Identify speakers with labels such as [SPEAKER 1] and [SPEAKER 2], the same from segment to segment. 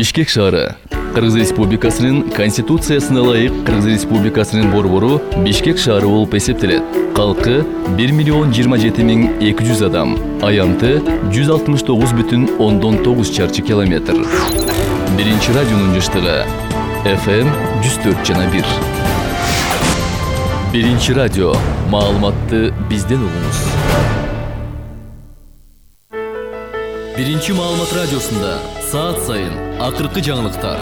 [SPEAKER 1] Бишкек шаары. Кыргыз Республикасынын Конституциясына ылайык Кыргыз Республикасынын борбору Бишкек шаары болуп эсептелет. Калкы 1,027,200 адам. Аянты 169,9 чарчы километр. Биринчи радионун жыштыгы FM 104,1. Биринчи радио. Маалыматты бизден угуңуз. Биринчи маалымат радиосунда саат сайын акыркы жаңылыктар,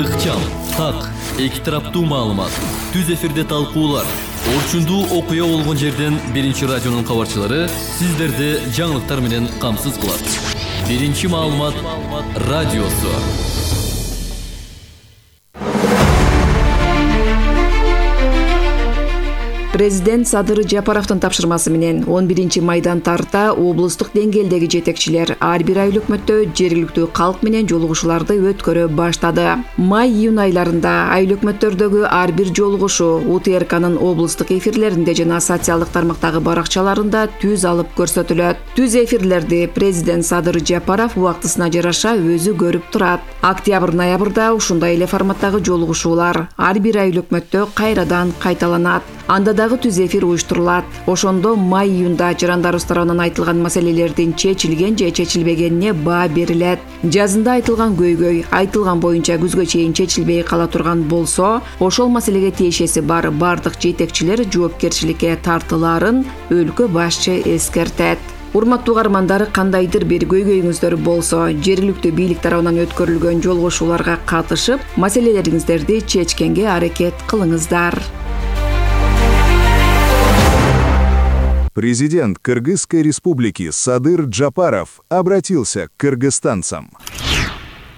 [SPEAKER 1] ыкчам, так, эки тараптуу маалымат, түз эфирде талкуулар, орчундуу окуя болгон жерден Биринчи радионун кабарчылары сиздерди жаңылыктар менен камсыз кылат. Биринчи маалымат радиосу.
[SPEAKER 2] Президент Садыр Жапаровдун тапшырмасы менен 11 майдан тарта облустук деңгээлдеги жетекчилер ар бир ай өкмөттө жергиликтүү калк менен жолугушууларды өткөрө баштады. Май-июнь айларында ай өкмөттөрдөгү ар бир жолугушуу УТРКнын облустук эфирлеринде жана социалдык тармактагы баракчаларында түз алып көрсөтүлөт. Түз эфирлерди президент Садыр Жапаров убактысына жараша өзү көрүп турат. Октябрь-ноябрда ушундай эле форматтагы жолугушуулар ар бир ай өкмөттө кайрадан кайталанат. Анда дагы түз эфир уюштурулат. Ошондо май-июнда жарандарыбыз тарабынан айтылган маселелердин чечилген же чечилбегенине баа берилет. Жазында айтылган көйгөй айтылган боюнча күзгө чейин чечилбей кала турган болсо, ошол маселеге тиешеси бар бардык жетекчилер жоопкерчиликке тартылаарын өлкө башчы эскертет. Урматтуу угармандар, кандайдыр бир көйгөйүңүздөр болсо, жергиликтүү бийлик тарабынан өткөрүлгөн жолугушууларга катышып, маселелериңиздерди чечкенге аракет кылыңыздар.
[SPEAKER 3] Президент Кыргызской республики Садыр Джапаров обратился к кыргызстанцам.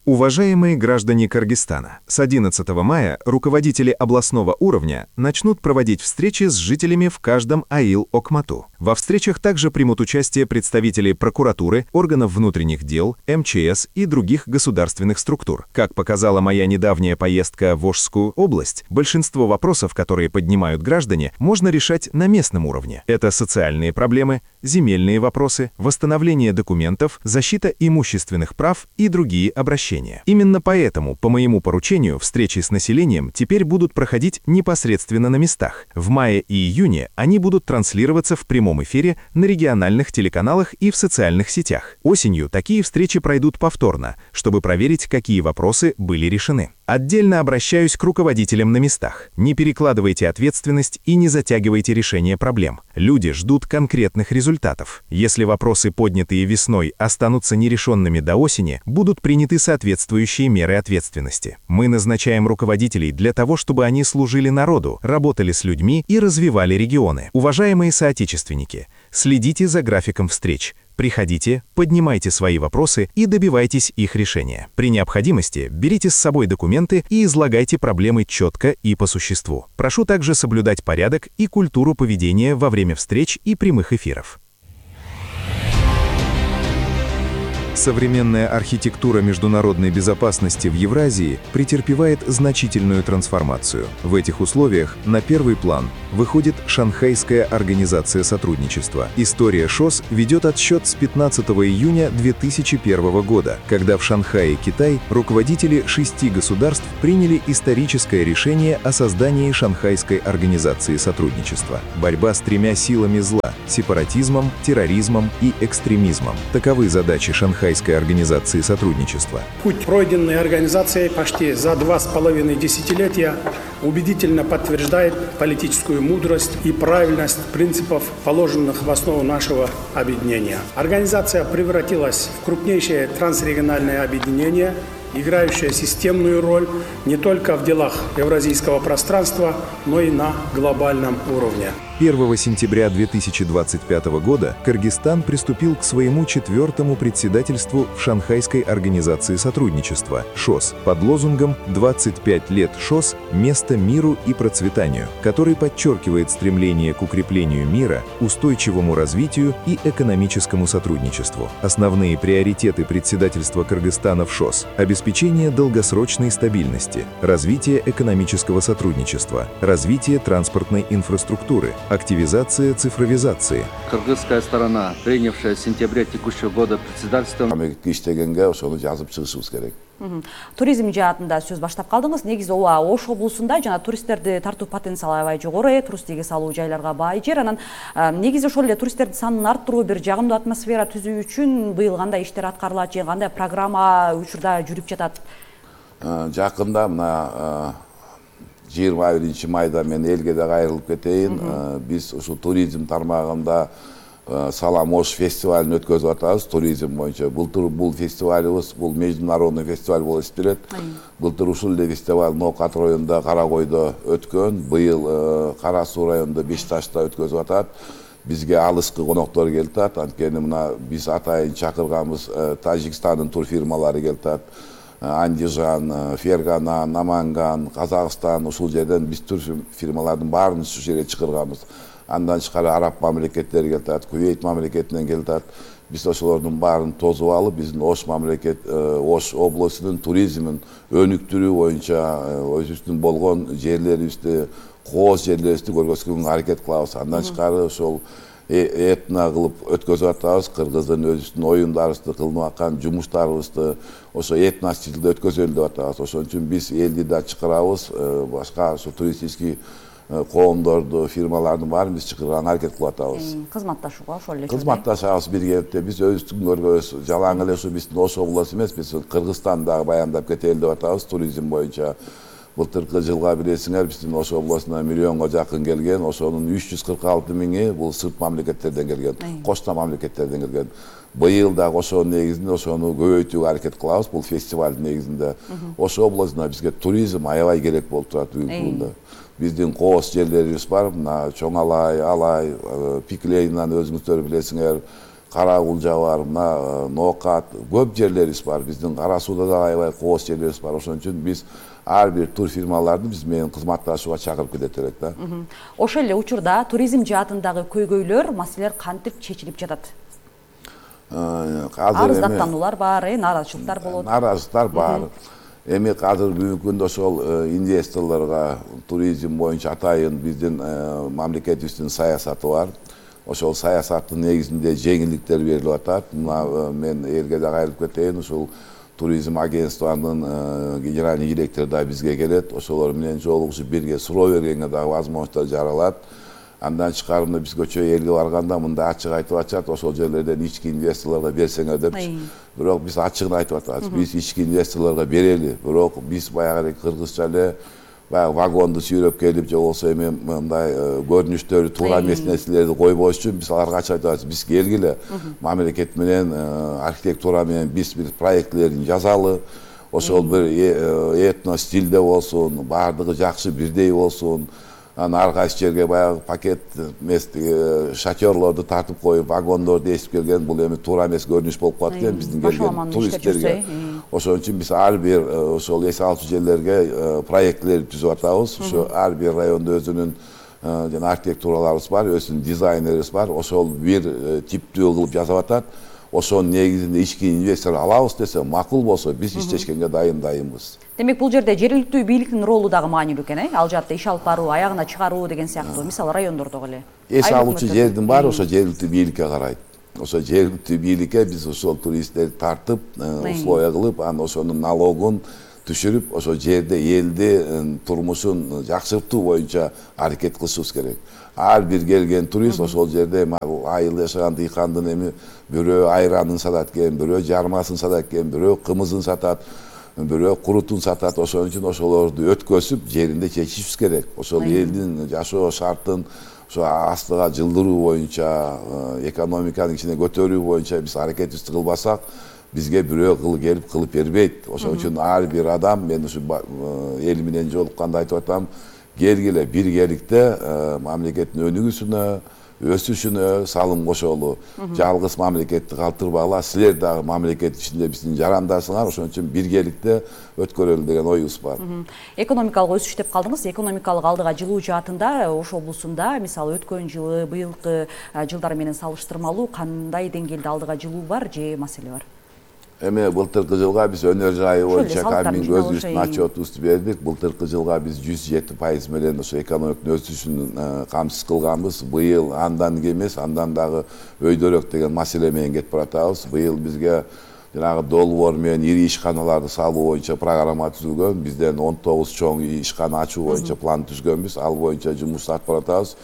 [SPEAKER 3] Уважаемые граждане Кыргызстана, с 11 мая руководители областного уровня начнут проводить встречи с жителями в каждом АИЛ Окмату. Во встречах также примут участие представители прокуратуры, органов внутренних дел, МЧС и других государственных структур. Как показала моя недавняя поездка в Ошскую область, большинство вопросов, которые поднимают граждане, можно решать на местном уровне. Это социальные проблемы, земельные вопросы, восстановление документов, защита имущественных прав и другие обращения. Именно поэтому, по моему поручению, встречи с населением теперь будут проходить непосредственно на местах. В мае и июне они будут транслироваться в прямом эфире на региональных телеканалах и в социальных сетях. Осенью такие встречи пройдут повторно, чтобы проверить, какие вопросы были решены. Отдельно обращаюсь к руководителям на местах. Не перекладывайте ответственность и не затягивайте решение проблем. Люди ждут конкретных результатов. Если вопросы, поднятые весной, останутся нерешенными до осени, будут приняты соответствующие меры ответственности. Мы назначаем руководителей для того, чтобы они служили народу, работали с людьми и развивали регионы. Уважаемые соотечественники, следите за графиком встреч. Приходите, поднимайте свои вопросы и добивайтесь их решения. При необходимости берите с собой документы и излагайте проблемы четко и по существу. Прошу также соблюдать порядок и культуру поведения во время встреч и прямых эфиров. Современная архитектура международной безопасности в Евразии претерпевает значительную трансформацию. В этих условиях на первый план выходит Шанхайская организация сотрудничества. История ШОС ведет отсчет с 15 июня 2001 года, когда в Шанхае, Китай, руководители 6 государств приняли историческое решение о создании Шанхайской организации сотрудничества. Борьба с 3 силами зла – сепаратизмом, терроризмом и экстремизмом. Таковы задачи Шанхайской организации сотрудничества.
[SPEAKER 4] Путь, пройденный организацией почти за 2,5 десятилетия, убедительно подтверждает политическую мудрость и правильность принципов, положенных в основу нашего объединения. Организация превратилась в крупнейшее трансрегиональное объединение, играющее системную роль не только в делах евразийского пространства, но и на глобальном уровне.
[SPEAKER 3] 1 сентября 2025 года Кыргызстан приступил к своему 4-му председательству в Шанхайской организации сотрудничества ШОС под лозунгом «25 лет ШОС. Место миру и процветанию», который подчеркивает стремление к укреплению мира, устойчивому развитию и экономическому сотрудничеству. Основные приоритеты председательства Кыргызстана в ШОС – обеспечение долгосрочной стабильности, развитие экономического сотрудничества, развитие транспортной инфраструктуры, активизация цифровизации.
[SPEAKER 5] Кыргызская сторона, принявшая в сентябре текущего года председательство, Туризм жаатында сөз баштап калдыңыз. Негизи ооба Ош облусунда жана туристтерди тартуу потенциалы аябай жогору, туристтикке салуу жайларга бай жер. Анан негизи ошол эле туристтердин санын арттыруу, бир жагымдуу атмосфера түзүү үчүн быйыл кандай иштер аткарылат же кандай программа учурда жүрүп жатат?
[SPEAKER 6] Жакында мына 21-майда мен элге да кайрылып кетейин. Биз ушул туризм тармагында Салам Ош фестивалын өткөзүп атабыз туризм боюнча. Былтыр бул фестивалыбыз бул международный фестиваль болуп эсептелет. Былтыр ушул эле фестиваль Ноокат районунда Каракойдо өткөн. Быйыл Кара Суу районунда Бешташта өткөзүп атат. Бизге алыскы коноктор келип атат. Анткени мына биз атайын чакырганбыз Тажикстандын турфирмалары келип атат. Андижан, Фергана, Наманган, Казакстан ушул жерден биз турфирмалардын баарын ушул жерге чакырганбыз. Андан тышкары араб мамлекеттери келип атат, Кувейт мамлекетинен келип атат. Биз ошолордун баарын тосуп алып, биздин Ош облусунун туризмин өнүктүрүү боюнча өзүбүздүн болгон жерлерибизди, кооз жерлерибизди көргөзгөнгө аракет кылабыз. Андан тышкары ошол этно кылып өткөзүп атабыз. Кыргыздын өзүбүздүн оюндарыбызды, кылынып аткан жумуштарыбызды ошо этно стилде өткөзөлү деп атабыз. Ошон үчүн биз элди да чакырабыз, башка ошо туристический коомдорду, фирмалардын баарын биз чакырганга аракет кылып атабыз.
[SPEAKER 5] Кызматташууга ошол эле.
[SPEAKER 6] Кызматташабыз биргеликте. Биз өзүбүздүн көргөз жалаң эле ушу биздин Ош облусу эмес, биз Кыргызстандагы баяндап кетели деп атабыз туризм боюнча. Былтыркы жылга билесиңер, биздин Ош облусуна миллионго жакын келген, ошонун 346 миңи бул сырт мамлекеттерден келген, кошто мамлекеттерден келген. Быйыл дагы ошонун негизинде ошону көбөйтүүгө аракет кылабыз. Бул фестивалдын негизинде Ош облусуна бизге туризм аябай керек болуп турат бүгүнкү күндө. Биздин кооз жерлерибиз бар, мына Чоң Алай, Пиклейнан өзүңүздөр билесиңер, Карагулжа бар, мына Ноокат, көп жерлерибиз бар. Биздин Кара Сууда да аябай кооз жерлерибиз бар. Ошон үчүн биз ар бир тур фирмаларды биз менен кызматташууга чакырып кетет элек да.
[SPEAKER 5] Ошол эле учурда туризм жаатындагы көйгөйлөр, маселелер кантип чечилип жатат? Арыздаттануулар бар, нааразычылыктар болот.
[SPEAKER 6] Нааразычылыктар бар. Эми азыр бүгүнкү күндө ошол инвесторлорго туризм боюнча атайын биздин мамлекетибиздин саясаты бар. Ошол саясаттын негизинде жеңилдиктер берилип атат. Мына мен элге да кайрылып кетейин, ушул туризм агентствонун генеральный директору да бизге келет. Ошолор менен жолугушуп бирге суроо бергенге дагы возможностьтор жаралат. Андан тышкары биз көчө элге барганда мындай ачык айтып атышат, ошол жерлерден ички инвесторлорго берсеңер депчи. Бирок биз ачыгын айтып атабыз. Биз ички инвесторлорго берели, бирок биз баягы кыргызча эле баягы вагонду сүйрөп келип же болбосо эми мындай көрүнүштөрү туура эмес нерселерди койбош үчүн биз аларга ачык айтабыз. Биз келгиле, мамлекет менен, архитектура менен биз бир проектлерин жазалы. Ошол бир этно стилде болсун, баардыгы жакшы бирдей болсун. Ар кайсы жерге баягы пакет шатерлорду тартып коюп, вагондорду эсип келген, бул эми туура эмес көрүнүш болуп калат экен биздин келген туристтерге. Ошон үчүн биз ар бир ошол эс алчу жерлерге проектлер түзүп атабыз. Ошо ар бир райондо өзүнүн жана архитектураларыбыз бар, өзүнүн дизайнерибиз бар. Ошол бир типтүү кылып жасап атат. Ошонун негизинде ички инвестор алабыз десе, макул болсо биз иштешкенге дайынбыз.
[SPEAKER 5] Демек бул жерде жергиликтүү бийликтин ролу дагы маанилүү экен, Ал жаатта иш алып баруу, аягына чыгаруу деген сыяктуу. Мисалы райондордогу эле.
[SPEAKER 6] Эс алуучу жердин баары ошо жергиликтүү бийликке карайт. Ошо жергиликтүү бийликке биз ошол туристтерди тартып, условия кылып, анан ошонун налогун түшүрүп, ошо жерде элди турмушун жакшыртуу боюнча аракет кылышыбыз керек. Ар бир келген турист ошол жерде айыл жашаган дыйкандын эми бирөө айранын сатат экен, бирөө жармасын сатат экен, бирөө кымызын сатат, бирөө курутун сатат. Ошон үчүн ошолорду өткөзүп, жеринде чечишибиз керек. Ошол элдин жашоо шартын ошо астыга жылдыруу боюнча, экономиканын ичине көтөрүү боюнча биз аракетибизди кылбасак, бизге бирөө келип кылып бербейт. Ошон үчүн ар бир адам, мен ушу эл менен жолукканда айтып атам, келгиле биргеликте мамлекеттин өнүгүүсүнө, өсүшүнө салым кошолу. Жалгыз мамлекетти калтырбагыла, силер дагы мамлекет ичинде биздин жарандарсыңар. Ошон үчүн биргеликте өткөрөлү деген оюбуз бар.
[SPEAKER 5] Экономикалык өсүш деп калдыңыз. Экономикалык алдыга жылуу жаатында Ош облусунда, мисалы өткөн жылы, быйылкы жылдар менен салыштырмалуу кандай деңгээлде алдыга жылуу бар же маселе бар?
[SPEAKER 6] Эми былтыркы жылга биз өнөр жайы боюнча каминг өзүбүздүн отчетубузду бердик. Былтыркы жылга биз 107% менен ошо экономиканын өсүшүн камсыз кылганбыз. Быйыл андан кем эмес, андан дагы өйдөрөөк деген маселе менен кетип баратабыз. Быйыл бизге жанагы долбоор менен ири ишканаларды салуу боюнча программа түзүлгөн. Бизден 19 чоң ишкана ачуу боюнча план түзгөнбүз. Ал боюнча жумуш алып баратабыз.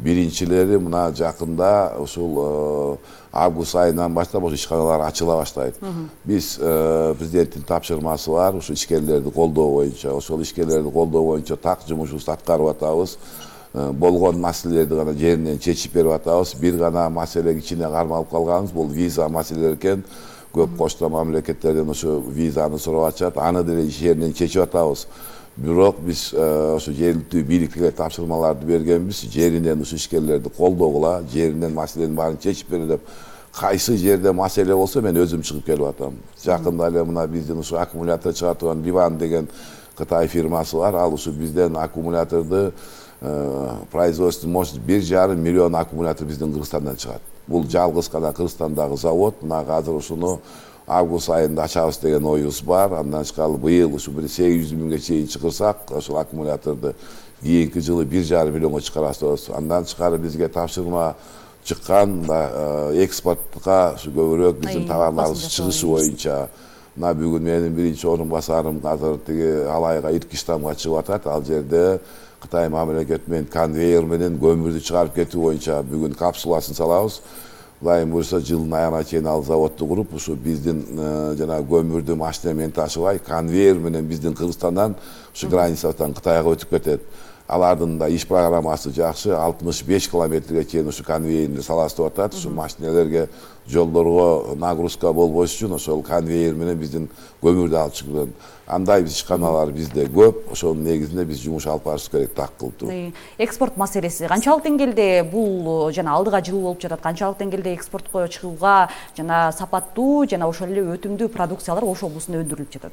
[SPEAKER 6] Биринчилери мына жакында ушул август айынан баштап ошо ишканалар ачыла баштайт. Биз президенттин тапшырмасы бар, ушу ишкерлерди колдоо боюнча, ошол ишкерлерди колдоо боюнча так жумушубузду аткарып атабыз. Болгон маселелерди гана жеринен чечип берип атабыз. Бир гана маселе кичине кармалып калганыбыз бул виза маселелери экен. Көп кошто мамлекеттерден ошо визаны сурап атышат. Аны деле жеринен чечип атабыз. Бирок биз ошо жергиликтүү бийликке тапшырмаларды бергенбиз, жеринен ушу ишкерлерди колдогула, жеринен маселенин баарын чечип бере деп. Кайсы жерде маселе болсо мен өзүм чыгып келип атам. Жакында эле мына биздин ушу аккумулятор чыгара турган Ливан деген Кытай фирмасы бар. Ал ушу бизден аккумуляторду производство мощность 1,5 миллион аккумулятор биздин Кыргызстандан чыгат. Бул жалгыз гана Кыргызстандагы завод. Мына азыр ушуну август айында ачабыз деген оюбуз бар. Андан тышкары быйыл ушу 800 миңге чейин чыгырсак, ошол аккумуляторду кийинки жылы 1,5 миллионго чыгарабыз. Андан тышкары бизге тапшырма чыккан экспортко ушу көбүрөөк биздин товарларыбыз чыгышы боюнча. Мына бүгүн менин биринчи орун басарым азыр тиги Алайга Иркиштамга чыгып атат. Ал жерде Кытай мамлекети менен конвейер менен көмүрдү чыгарып кетүү боюнча бүгүн капсуласын салабыз. Кудайым буюрса жылдын аягына чейин ал заводду куруп, ушу биздин жана көмүрдү машина менен ташыбай, конвейер менен биздин Кыргызстандан ушу границадан Кытайга өтүп кетет. Алардын да иш программасы жакшы, 65 километрге чейин ушу конвейерди салабыз деп атат. Ушу машинелерге, жолдорго нагрузка болбош үчүн ошол конвейер менен биздин көмүрдү алып чыгылат. Андай ишканалар бизде көп, ошонун негизинде биз жумуш алып барышыбыз керек так кылып.
[SPEAKER 5] Экспорт маселеси канчалык деңгээлде бул жана алдыга жылуу болуп жатат, канчалык деңгээлде экспортко чыгууга жана сапаттуу жана ошол эле өтүмдүү продукциялар Ош облусунда өндүрүлүп жатат?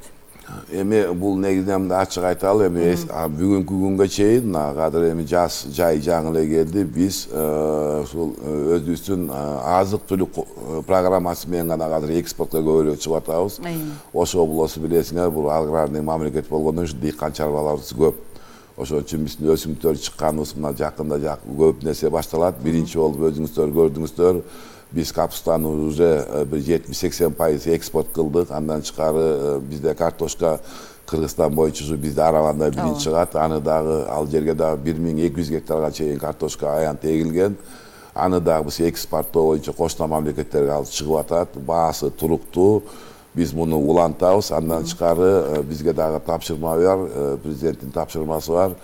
[SPEAKER 6] Эми бул негизинен ачык айталы, эми бүгүнкү күнгө чейин кадыр эми жаз жай жаңы эле келди. Биз ушул өзүбүздүн азык түлүк программасы менен гана кадыр экспортко көбүрөөк чыгып атабыз. Ош облусу билесиңер, бул аграрный мамлекет болгондон үчүн дыйкан чарбаларыбыз көп. Ошон үчүн биздин өсүмдүктөр чыкканыбыз мына жакында көп нерсе башталат. Биринчи болуп өзүңүздөр көрдүңүздөр. Биз капустаны уже 70-80% экспорт кылдык. Андан тышкары бизде картошка Кыргызстан боюнча ушу бизде Араванда биринчи чыгат. Аны дагы ал жерге дагы 1200 гектарга чейин картошка аянт эгилген. Аны дагы биз экспорттоо боюнча кошмо мамлекеттерге алып чыгып атат. Баасы туруктуу. Биз муну улантабыз. Андан тышкары бизге дагы тапшырма бар, президенттин тапшырмасы бар.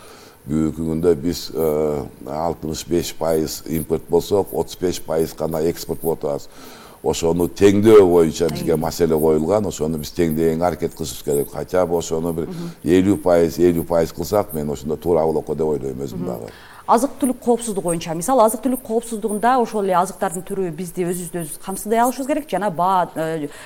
[SPEAKER 6] Бүгүнкү күндө биз 65% импорт болсок, 35% гана экспорт кылып атабыз. Ошону теңдөө боюнча бизге маселе коюлган. Ошону биз теңдөгөнгө аракет кылышыбыз керек. Хотя бы ошону бир 50% кылсак, мен ошондо туура болот деп ойлойм өзүм дагы.
[SPEAKER 5] Азык-түлүк коопсуздугу боюнча, мисалы азык-түлүк коопсуздугунда ошол эле азыктардын түрү бизди өзүбүздү камсыздай алышыбыз керек, жана баа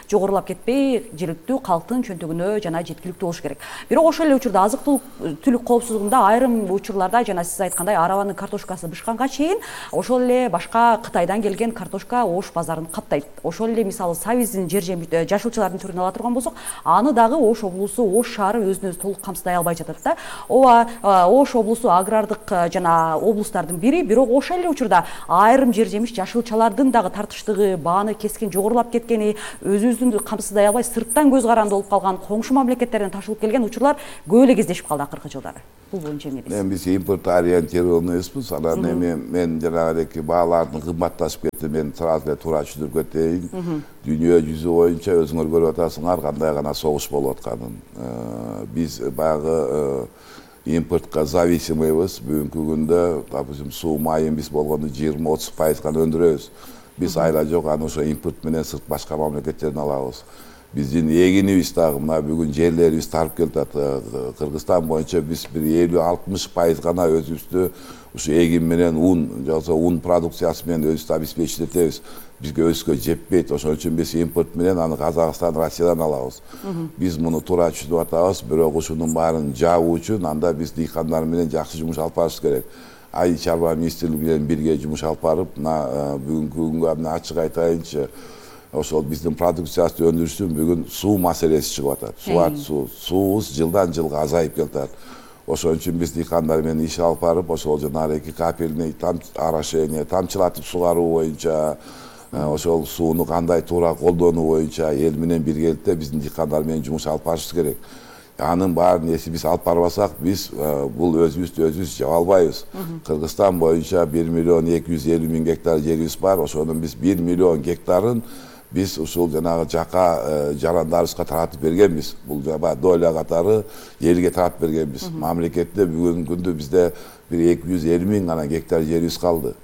[SPEAKER 5] жогорулап кетпей, жергиликтүү калктын чөнтөгүнө жана жеткиликтүү болуш керек. Бирок ошол эле учурда азык-түлүк коопсуздугунда айрым учурларда жана сиз айткандай Араванын картошкасы бышканга чейин ошол эле башка Кытайдан келген картошка Ош базарын каптайт. Ошол эле мисалы сабиздин жашылчалардын түрүн ала турган болсок, аны дагы Ош облусу, Ош шаары өзүн өзү толук камсыздай албай жатат да. Ооба, Ош облусу агрардык жана облустардын бири, бирок ошол эле учурда айрым жер жемиш жашылчалардын дагы тартыштыгы, бааны кескен, жогорулап кеткени, өзүбүздүн камсыздай албай сырттан көз каранды болуп калган, коңшу мамлекеттерден ташылып келген учурлар көп эле кездешип калды акыркы жылдары. Бул боюнча эмне дейсиз?
[SPEAKER 6] Биз импорт ориентированный эмеспиз. Анан эми мен жанагыдеки баалардын кымбатташып кетти, мен сразу эле туура түшүндүрүп кетейин. Дүйнө жүзү боюнча өзүңөр көрүп атасыңар кандай гана согуш болуп атканын. Биз баягы импортко зависимыйбыз. Бүгүнкү күндө, допустим, суу майын биз болгондо 20-30% гана өндүрөбүз. Биз айла жок аны ошо импорт менен сырт башка мамлекеттерден алабыз. Биздин эгинибиз дагы мына бүгүн жерлерибиз тарып келатат. Кыргызстан боюнча биз бир 50-60% гана өзүбүздү ушу эгин менен ун, жоксо ун продукциясы менен өзүбүздү обеспечить этебиз. Бизге өзгө жетпейт. Ошон үчүн биз импорт менен аны Казакстан, Россиядан алабыз. Биз муну туура түшүнүп атабыз, бирок ушунун баарын жабуу үчүн анда биз дыйкандар менен жакшы жумуш алып барышыбыз керек. Ай чарба министрлиги менен бирге жумуш алып барып, мына бүгүнкү күнгө ачык айтайынчы, ошол биздин продукциясы өндүрүштүн бүгүн суу маселеси чыгып атат. Суубуз жылдан жылга азайып келатат. Ошон үчүн биз дыйкандар менен иш алып барып, ошол жанагы капельный орошение, тамчылатып сугаруу боюнча ошол сууну кандай туура колдонуу боюнча эл менен биргеликте биздин дыйкандар менен жумуш алып барышыбыз керек. Анын баарын эси биз алып барбасак, биз бул өзүбүз жаба албайбыз. Кыргызстан боюнча 1.250.000 гектар жерибиз бар. Ошонун биз 1 миллион гектарын биз ушул жанагы жака жарандарыбызга таратып бергенбиз. Бул жаба доля катары элге таратып бергенбиз. Мамлекетте бүгүнкү күндө бизде 250.000 гана гектар жерибиз калды.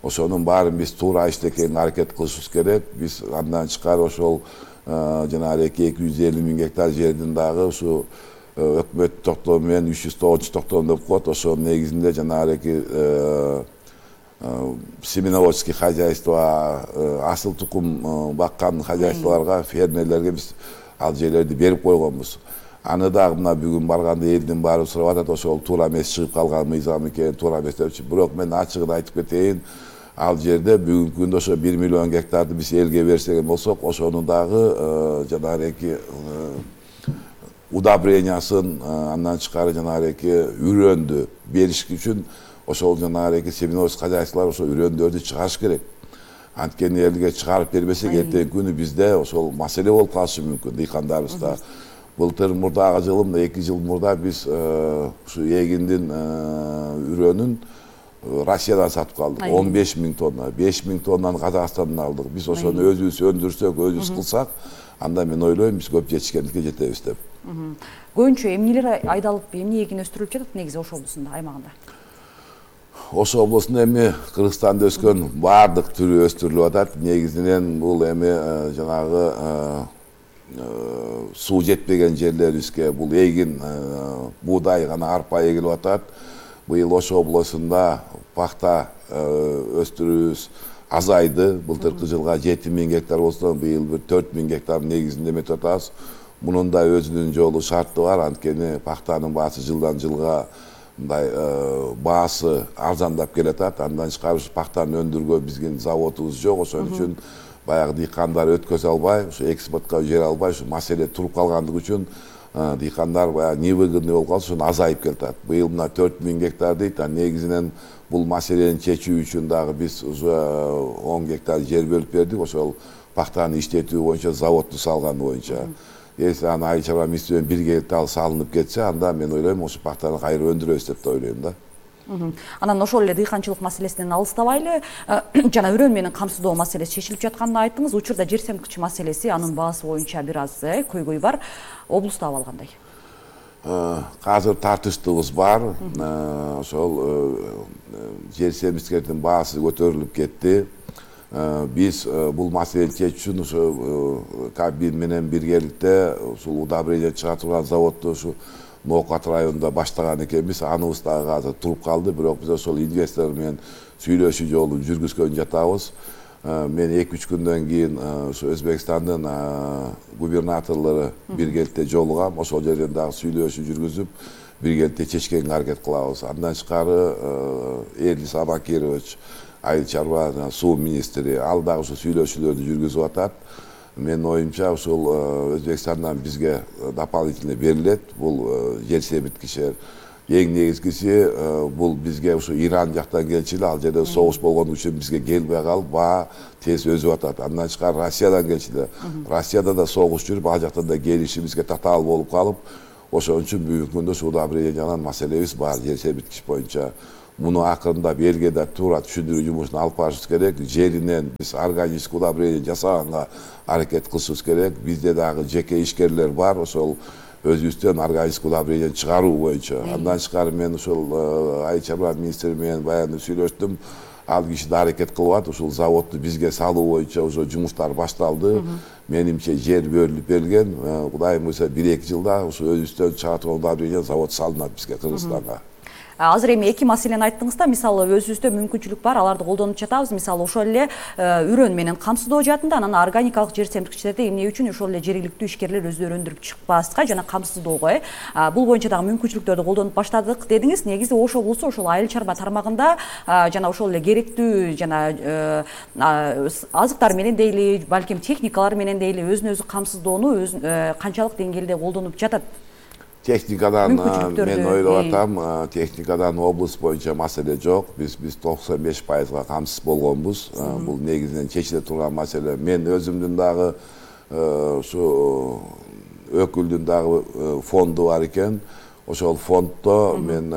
[SPEAKER 6] Ошонун баарын биз туура иштекенге аракет кылышыбыз керек. Биз андан тышкары ошол жанагы 250.000 гектар жердин дагы ушу өкмөт токтому менен 309 токтом деп коет. Ошонун негизинде жанагы семеноводческий хозяйство, асыл тукум баккан хозяйстволорго, фермерлерге биз ал жерлерди берип койгонбуз. Аны дагы мына бүгүн барганда элдин баары сурап атат, ошол туура эмес чыгып калган мыйзам экен, туура эмес депчи. Бирок мен ачыгын айтып кетейин, ал жерде бүгүнкү күндө ошо 1 миллион гектарды биз элге берсек болсок, ошонун дагы жанагы удобрениясын, андан тышкары жанагы үрөндү бериш үчүн ошол жанагы семеноводческий хозяйстволор ошол үрөндөрдү чыгарыш керек. Анткени элге чыгарып бербесек, эртеңки күнү бизде ошол маселе болуп калышы мүмкүн дыйкандарыбызда. Былтыр мурдагы жылы, 2 жыл мурда биз ушу эгиндин үрөнүн Россиядан сатып калдык. 15.000 тонна, 5.000 тоннаны Казакстандан алдык. Биз ошону өзүбүз өндүрсөк, өзүбүз кылсак, анда мен ойлойм биз көп жетишкендикке жетебиз деп.
[SPEAKER 5] Көбүнчө эмнелер айдалып, эмне эгин өстүрүлүп жатат негизи Ош облусунда, аймагында?
[SPEAKER 6] Ош облусунда эми Кыргызстанда өскөн баардык түрү өстүрүлүп атат. Негизинен бул эми жанагы суу жетпеген жерлерибизге бул эгин, буудай гана арпа эгилип атат. Быйыл Ош облусунда пахта өстүрүүбүз азайды. Былтыркы жылга 7.000 гектар болсо, быйыл 4.000 гектар негизинде эметип атабыз. Мунун да өзүнүн жолу шарты бар. Анткени пахтанын баасы жылдан жылга мындай баасы арзандап келатат. Андан тышкары пахтаны өндүргөнгө биздин заводубуз жок. Ошон үчүн баягы дыйкандар өткөзө албай, ушу экспортко жибере албай, ушу маселе туруп калгандыгы үчүн дыйкандар баягы невыгодный болуп калып, ошону азайып келатат. Быйыл мына 4.000 гектар дейт. Негизинен бул маселени чечүү үчүн дагы биз уже 10 гектар жер бөлүп бердик. Ошол пахтаны иштетүү боюнча заводду салганы боюнча. Если аны Айыл чарба министринин биргеликте ал салынып кетсе, анда мен ойлойм ошо пахтаны кайра өндүрөбүз деп ойлойм да.
[SPEAKER 5] Анан ошол эле дыйканчылык маселесинен алыстабайлы, жана үрөн менен камсыздоо маселеси чечилип жатканын айттыңыз. Учурда жер семткич маселеси, анын баасы боюнча бир аз көйгөй бар. Облуста абал кандай?
[SPEAKER 6] Азыр тартыштыгыбыз бар. Ошол жер семткичтердин баасы көтөрүлүп кетти. Биз бул маселени чечүү үчүн ушу Кабмин менен биргеликте ушул удобрение чыгара турган заводду ушу Ноокат районунда баштаган экенбиз. Аныбыз дагы азыр туруп калды. Бирок биз ошол инвестор менен сүйлөшүү жолун жүргүзгөн жатабыз. Мен 2-3 күндөн кийин ушу Өзбекстандын губернаторлору биргеликте жолугам. Ошол жерден дагы сүйлөшүү жүргүзүп, биргеликте чечкенге аракет кылабыз. Андан тышкары Эрлис Абакирович, Айыл чарба суу министри, ал дагы ушу сүйлөшүүлөрдү жүргүзүп атат. Мен оюмча ушул Өзбекстандан бизге дополнительно берилет бул жер семирткичтер. Эң негизгиси бул бизге ушу Иран жактан келчү эле, ал жерде согуш болгон үчүн бизге келбей калып, баа тез өзүп атат. Андан тышкары Россиядан келчү эле. Россияда да согуш жүрүп, ал жактан да келиши бизге татаал болуп калып, ошон үчүн бүгүнкү күндө ушул удобрениянын маселебиз бар жер семирткич боюнча. Муну акырындап элге да туура түшүндүрүү жумушун алып барышыбыз керек. Жеринен биз органический удобрение жасаганга аракет кылышыбыз керек. Бизде дагы жеке ишкерлер бар, ошол өзүбүздөн органический удобрение чыгаруу боюнча. Андан тышкары мен ошол Айыл чарба министри менен баягы сүйлөштүм. Ал киши да аракет кылып атат. Ушул заводду бизге салуу боюнча уже жумуштар башталды. Менимче жер бөлүнүп берилген. Кудайым буйрса 1-2 жылда ушу өзүбүздөн чыгара турган удобрение завод салынат бизге Кыргызстанга.
[SPEAKER 5] Азыр эми эки маселени айттыңыз да, мисалы өзүбүздө мүмкүнчүлүк бар, аларды колдонуп жатабыз. Мисалы ошол эле үрөн менен камсыздоо жаатында, анан органикалык жер семирткичтерди эмне үчүн ошол эле жергиликтүү ишкерлер өздөрү өндүрүп чыкпаска жана камсыздоого, бул боюнча дагы мүмкүнчүлүктөрдү колдонуп баштадык дедиңиз. Негизи Ош облусу ошол айыл чарба тармагында жана ошол эле керектүү жана азыктар менен дейли, балким техникалар менен дейли өзүн өзү камсыздоону канчалык деңгээлде колдонуп жатат?
[SPEAKER 6] Техникадан мен ойлоп атам, техникадан область боюнча маселе жок. Биз 95%га камсыз болгонбуз. Бул негизинен чечиле турган маселе. Мен өзүмдүн дагы ушу өкүлдүн дагы фонду бар экен. Ошол фонддо мен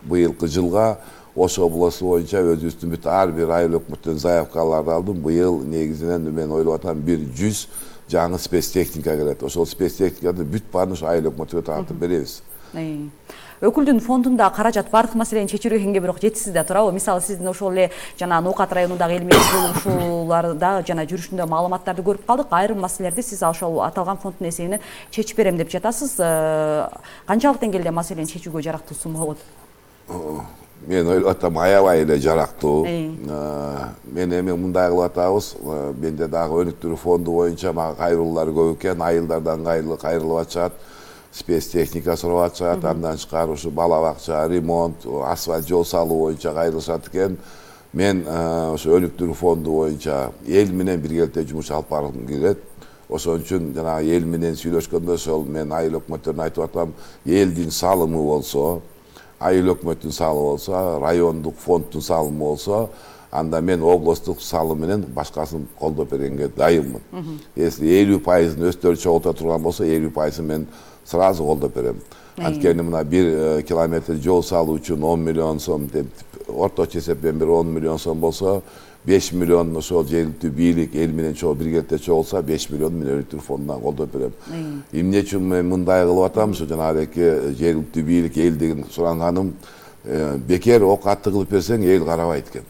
[SPEAKER 6] быйылкы жылга Ош областы боюнча өзүбүздүн бүт ар бир айыл өкмөттөн заявкаларды алдым. Быйыл негизинен мен ойлоп атам 100 жаңы спецтехника келет. Ошол спецтехниканы бүт баарын ошо айыл өкмөтүнө тартып беребиз.
[SPEAKER 5] Өкүлдүн фондунда каражат бардык маселени чечүүгө келгенге бирок жетишсиз да турабы? Мисалы сиздин ошол эле жана Ноокат районундагы эл менен жолугушууларда жана жүрүшүндө маалыматтарды көрүп калдык. Айрым маселелерди сиз ошол аталган фонддун эсебинен чечип берем деп жатасыз. Канчалык деңгээлде маселени чечүүгө жарактуу сумма болот?
[SPEAKER 6] Мен ойлоп атам, аябай эле жарактуу. Мен эми мындай кылып атабыз. Менде дагы өнүктүрүү фонду боюнча мага кайрылуулар көп экен. Айылдардан кайрылып атышат. Спецтехника сурап атышат. Андан тышкары ушу бала бакча, ремонт, асфальт жол салуу боюнча кайрылышат экен. Мен ошо өнүктүрүү фонду боюнча эл менен биргеликте жумуш алып баргым келет. Ошон үчүн жана эл менен сүйлөшкөндө ошол мен айыл өкмөттөрүнө айтып атам, элдин салымы болсо, айыл өкмөттүн салымы болсо, райондук фонддун салымы болсо, анда мен областтык салым менен башкасын колдоп бергенге дайынмын. Если 50%-ын өздөрү чогулта турган болсо, 50%-ын мен сразу колдоп берем. Анткени мына 1 километр жол салуу үчүн 10 миллион сом деп, орточо эсеппен 10 миллион сом болсо, 5 миллион ошол жергиликтүү бийлик эл менен биргеликте чогулса, 5 миллион мен өнүктүрүү фондунан колдоп берем. Эмне үчүн мен мындай кылып атам? Ошо жанагы жергиликтүү бийлик элдин суранганым, бекер ок атты кылып берсең эл карабайт экен.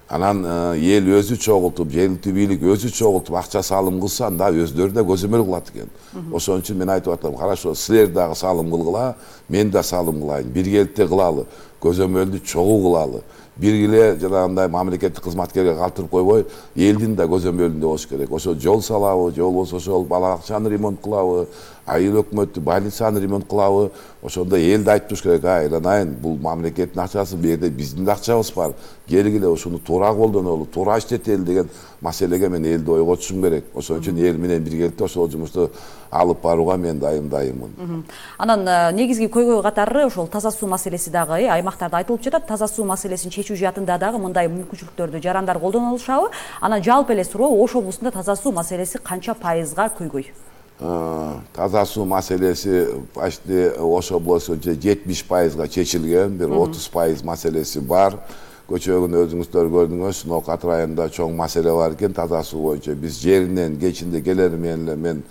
[SPEAKER 6] Анан эл өзү чогултуп, жергиликтүү бийлик өзү чогултуп акча салым кылса, анда өздөрү да көзөмөл кылат экен. Ошон үчүн мен айтып атам, карашо, силер дагы салым кылгыла, мен да салым кылайын. Биргеликте кылалы, көзөмөлдү чогуу кылалы. Биргиле жанагындай мамлекеттик кызматкерге калтырып койбой, элдин да көзөмөлүндө болуш керек. Ошо жол салабы, жол болсо ошол бала бакчаны ремонт кылабы, айыл өкмөттү больницаны ремонт кылабы, ошондо элди айтып туруш керек. Айланайын, бул мамлекеттин акчасы, бул жерде биздин да акчабыз бар. Келгиле ушуну туура колдонолу, туура иштетели деген маселеге мен элди ойго түшүм керек. Ошон үчүн эл менен биргеликте ошол жумушту алып барууга мен дайыммын.
[SPEAKER 5] Анан негизги көйгөй катары ошол таза суу маселеси дагы аймактарда айтылып жатат. Таза суу маселесин чечүү жаатында дагы мындай мүмкүнчүлүктөрдү жарандар колдоно алышабы? Анан жалпы эле суроо, Ош облусунда таза суу маселеси канча пайызга көйгөй?
[SPEAKER 6] Таза суу маселеси почти Ош облусунча 70%га чечилген, бир 30% маселеси бар. Көчөгүн өзүңүздөр көрдүңүз, Ноокат районунда чоң маселе бар экен таза суу боюнча. Биз жеринен кечинде келери менен мен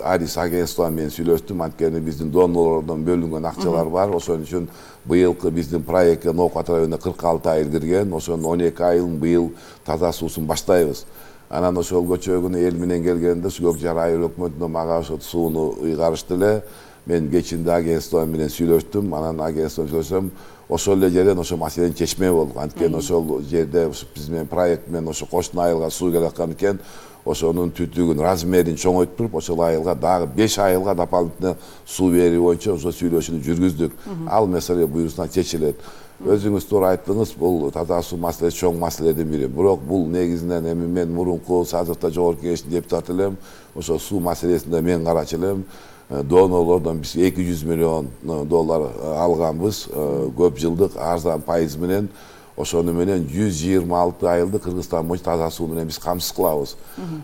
[SPEAKER 6] Арис агентство менен сүйлөштүм, анткени биздин донорлордон бөлүнгөн акчалар бар. Ошон үчүн быйылкы биздин проектке Ноокат районуна 46 айыл кирген, ошонун 12 айылын быйыл таза суусун баштайбыз. Анан ошол көчөгүнө эл менен келгенде Көкжар айыл өкмөтүнө мага ошо сууну ыйгарышты эле. Мен кечинде агентство менен сүйлөштүм, анан агентство сүйлөсөм, ошол эле жерден ошо маселени чечмек болдук. Анткени ошол жерде биз менен проект менен ошо кошуна айылга суу келаткан экен. Ошонун түтүгүн, размерин чоңойтуп, ошол айылга дагы 5 айылга дополнительно суу берүү боюнча ошо сүйлөшүүнү жүргүздүк. Ал маселе буюрса чечилет. Өзүңүз туура айттыңыз, бул таза суу маселеси чоң маселедин бири. Бирок бул негизинен эми мен мурунку Саздыкта жогорку кеңештин депутаты элем. Ошо суу маселесинде мен карачу элем. Донорлордон биз $200 миллион алганбыз, көп жылдык арзан пайыз менен. Ошону менен 126 айылды Кыргызстан боюнча таза суу менен биз камсыз кылабыз.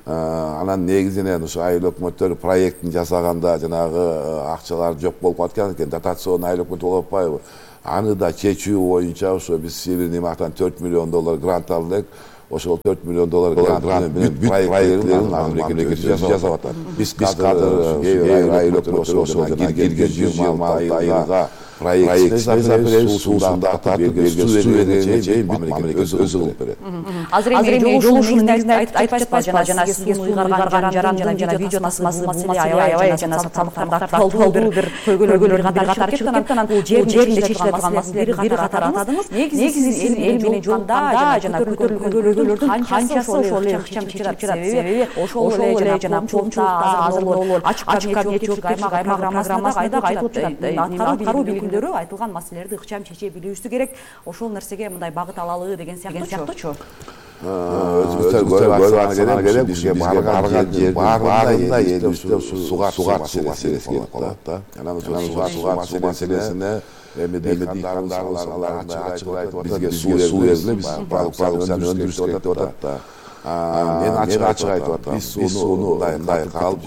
[SPEAKER 6] Анан негизинен ошо айыл өкмөттөр проектин жасаганда жанагы акчалар жок болуп калган экен, дотационный айыл өкмөт болуп атпайбы? Аны да чечүү боюнча ошо биз Северный Мактан $4 миллион грант алдык. Ошол $4 миллион грант бүт проекттерин мамлекет жасап атат. Биз азыр айыл өкмөттөр ошол кирген 126 айылга проект суусун тартып берген, суу бергенге чейин мамлекет өзү кылып берет.
[SPEAKER 5] Азыр эми жолугушуунун негизинде айтып жатпайсызбы, жана сизге суу ыйгарган жарандын жана видео tasмасы бул маселе аябай жана сабактарда актуалдуу бир көйгөйлөр катары чыгып кеткен. Анан бул жеринде чечиле турган маселелерди бир катар атадыңыз. Негизи сиз эл менен жолукканда жана көтөрүлгөн көйгөйлөрдүн канчасы ошол эле ыкчам чечилет. Себеби ошол эле жана коомчулукта азыр ачык кабинет чөчүп аймак программасында кайда айтылып жатат. Аткаруу билимдөрү айтылган маселелерди ыкчам чече билүүсү керек. Ошол нерсеге мындай багыт алалы деген сыяктуучу.
[SPEAKER 6] өзүбүздө көрүп керек бизге барган жердин баарында элибизде суу маселеси келип калат да. Анан суу маселесине эми дыйкандарыбыз ачык айтып атат, бизге суу бериле, биз продукцияны өндүрүш керек деп атат да. Мен ачык айтып атам, биз сууну мындай калып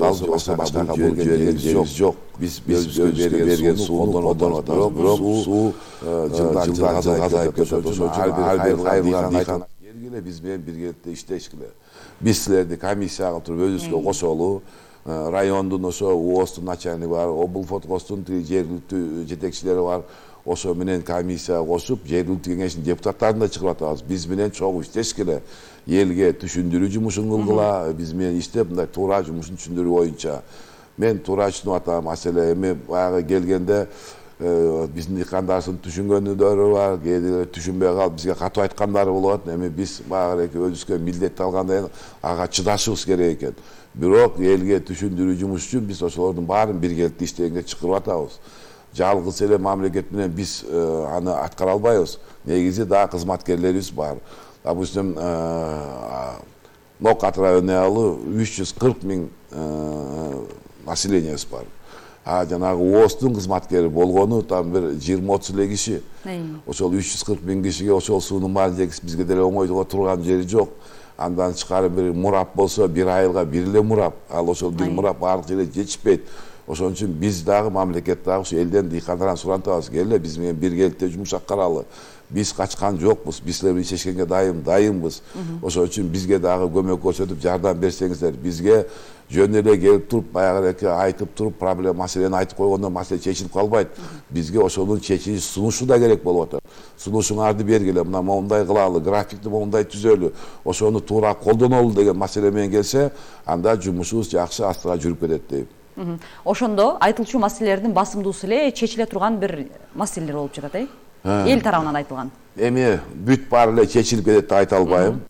[SPEAKER 6] башкага берген жок. Биз өзүбүзгө берген сууну колдонуп атабыз, бирок суу жылдан жылга азайып кетет. Ошон үчүн ар бир кайрылган дыйкан келгиле, биз менен биргеликте иштешкиле. Биз силерди комиссияга туруп өзүбүзгө кошолу. Райондун ошо УОСтун начальниги бар, облфоткостун жергиликтүү жетекчилери бар. Ошо менен комиссия кошуп, жергиликтүү кеңештин депутаттарын да чыгарып атабыз. Биз менен чогуу иштешкиле. Элге түшүндүрүү жумушун кылгыла, биз менен иштеп, мындай туура жумушун түшүндүрүү боюнча. Мен туура түшүнүп атам, маселе эми баягы келгенде биздин дыйкандарыбыздын түшүнгөндөрү бар, кээде түшүнбөй калып бизге катуу айткандары болот. Эми биз баягы өзүбүзгө милдет алгандан кийин ага чыдашыбыз керек экен. Бирок элге түшүндүрүү жумуш үчүн биз ошолордун баарын биргеликте иштегенге чакырып атабыз. Жалгыз эле мамлекет менен биз аны аткара албайбыз. Негизи дагы кызматкерлерибиз бар. Допустим, Нокат району 340 миң населениебиз бар. Жанагы УОСтун кызматкери болгону там бир 20-30 эле киши. Ошол 340 миң кишиге ошол суунун баарын жегиз бизге деле оңойдуга турган жери жок. Андан тышкары бир мурап болсо, бир айылга бир эле мурап. Ал ошол бир мурап баардык жерге жетишпейт. Ошон үчүн биз дагы мамлекет дагы ушу элден дыйкандардан сурантабыз. Келе биз менен биргеликте жумуш аткаралы. Биз качкан жокпуз. Биз силер менен иштешкенге дайынбыз. Ошон үчүн бизге дагы көмөк көрсөтүп жардам берсеңиздер, бизге жөн эле келип туруп, баягы айтып туруп, проблема маселени айтып койгондо маселе чечилип калбайт. Бизге ошонун чечилиш сунушу да керек болуп атат. Сунушуңарды бергиле, мына мондай кылалы, графикти мондай түзөлү, ошону туура колдонолу деген маселе менен келсе, анда жумушубуз жакшы астыга жүрүп кетет дейм.
[SPEAKER 5] Ошондо айтылчу маселелердин басымдуусу эле чечиле турган бир маселелер болуп жатат, эл тарабынан айтылган.
[SPEAKER 6] Эми бүт баары эле чечилип кетет деп айта албайм.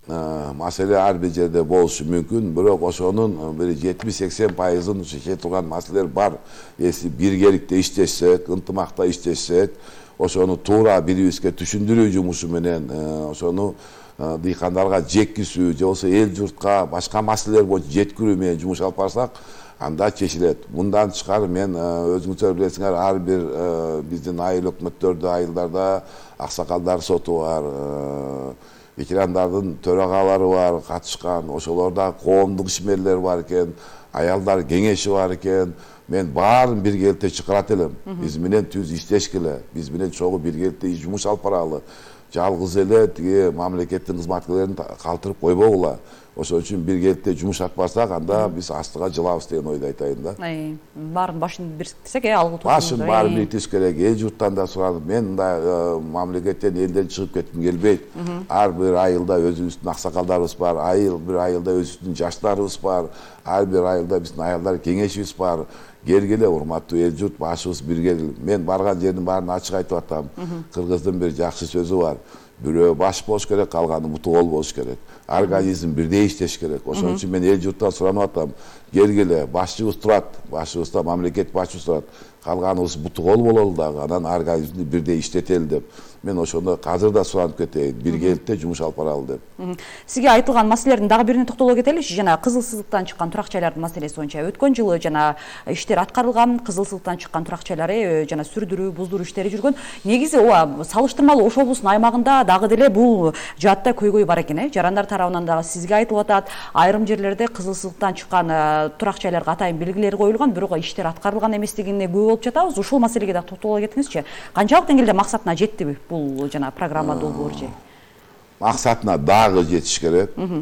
[SPEAKER 6] Маселе ар бир жерде болушу мүмкүн, бирок ошонун бир 70-80%ын чече турган маселелер бар. Эси биргеликте иштешсек, ынтымакта иштешсек, ошону туура бирибизге түшүндүрүү жумушу менен ошону дыйкандарга жеткизүү, же болбосо эл журтка башка маселелер боюнча жеткирүү менен жумуш алып барсак, анда чечилет. Мындан тышкары мен өзүңүздөр билесиңер, ар бир биздин айыл өкмөттөрдө, айылдарда аксакалдар соту бар, ветерандардын төрагалары бар, катышкан, ошолорда коомдук ишмерлер бар экен, аялдар кеңеши бар экен. Мен баарын биргеликте чакырат элем. Биз менен түз иштешкиле, биз менен чогуу биргеликте жумуш алып баралы. Жалгыз эле тиги мамлекеттин кызматкерлерин калтырып койбогула. Ошон үчүн биргеликте жумуш алып барсак, анда биз астыга жылабыз деген ойду айтайын да.
[SPEAKER 5] Баарын башын бириктирсек, алгы
[SPEAKER 6] башын баарын бириктириш керек. Эл журттан да суранып, мен мындай мамлекеттен элден чыгып кетким келбейт. Ар бир айылда өзүбүздүн аксакалдарыбыз бар, бир айылда өзүбүздүн жаштарыбыз бар, ар бир айылда биздин аялдар кеңешибиз бар. Келгиле, урматтуу эл журт, башыбыз биргел. Мен барган жердин баарын ачык айтып атам. Кыргыздын бир жакшы сөзү бар. Бирөө баш болуш керек, калганы муту кол болуш керек. Организм бирдей иштеш керек. Ошон үчүн мен эл журттан суранып атам. Келгиле, башчыбыз турат, башыбызда мамлекет башчысы турат. Калганыбыз муту кол бололу дагы, анан организмди бирдей иштетели деп. Мен ошондо азыр да суранып кетейин, биргеликте жумуш алып баралы деп.
[SPEAKER 5] Сизге айтылган маселелердин дагы бирине токтоло кетеличи. Жана кызыл сызыктан чыккан турак жайлардын маселеси боюнча өткөн жылы жана иштер аткарылган, кызыл сызыктан чыккан турак жайлары жана сүрдүрүү, буздуруу иштери жүргөн. Негизи ооба салыштырмалуу Ош облусунун аймагында дагы деле бул жаатта көйгөй бар экен, жарандар тарабынан дагы сизге айтылып атат. Айрым жерлерде кызыл сызыктан чыккан турак жайларга атайын белгилер коюлган, бирок иштер аткарылган эместигине күбө болуп жатабыз. Ушул маселеге да токтоло кетиңизчи. Канчалык деңгээлде максатына жеттиби бул жана программа долбоор же?
[SPEAKER 6] Максатына дагы жетиш керек.